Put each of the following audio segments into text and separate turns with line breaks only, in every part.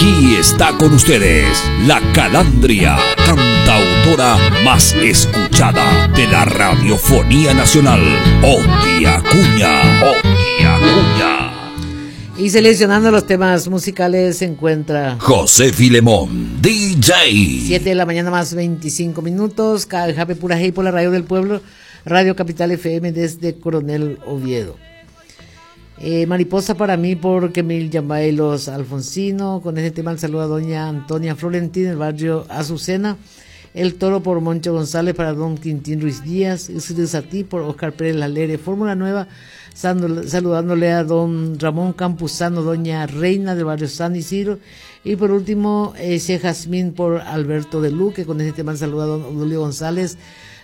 Aquí está con ustedes la calandria, cantautora más escuchada de la radiofonía nacional, Oti Acuña. Oti Acuña.
Y seleccionando los temas musicales se encuentra
José Filemón, DJ.
7 de la mañana más 25 minutos, Jape Pura por la radio del pueblo, Radio Capital FM desde Coronel Oviedo. Eh, mariposa para mí porque Mil Yambay los Alfonsino, con este tema el saludo a doña Antonia Florentín del barrio Azucena, El Toro por Moncho González para don Quintín Ruiz Díaz, a ti por Oscar Pérez Lalere, Fórmula Nueva, saludándole a don Ramón Campuzano, doña Reina del barrio San Isidro, y por último, ese Jazmín por Alberto de Luque, con este tema saluda a don Odulio González,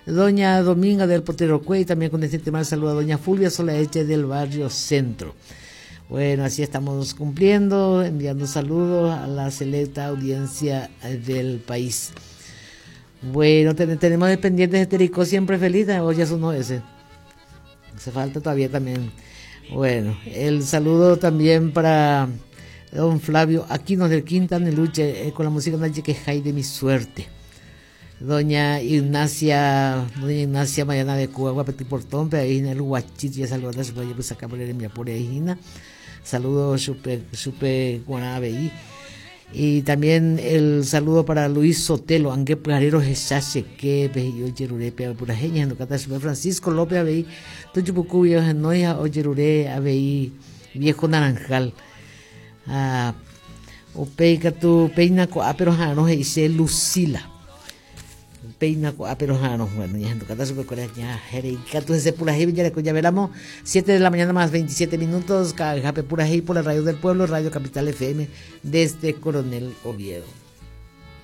doña Dominga del Potero Cuey, también con este tema saluda a doña Fulvia Solaeche del barrio Centro. Bueno, así estamos cumpliendo, enviando saludos a la selecta audiencia del país. Bueno, tenemos de pendientes de Tericó siempre feliz, o ya sonó ese. Hace falta todavía también. Bueno, el saludo también para don Flavio Aquino del Quinta Luche eh, con la música de que de mi suerte. Doña Ignacia, doña Ignacia Mayana de Cuba, Guapeti Portón, pero ahí en el Huachit, ya saludando a su pues acá por el mi ahí, Saludos, supe, supe Guanabey. Y también el saludo para Luis Sotelo, Angue Pujarero Jesache, que yo Yerure, Purajeña, Cata Francisco López Abey, Tuchupucu, Noia, Oyerure, Abey, Viejo Naranjal. Ah, upéi katu péina ko'ápe roha'arõ he'ise Lucila. Péina ko'ápe roha'arõ. Bueno, ñahendukata chupekuéra ñaheréi katu hese purahéi jareko javéramo 7 de la mañana más 27 minutos, ka'ayhápe purahéi por la radio del pueblo, Radio Capital FM, desde Coronel Oviedo.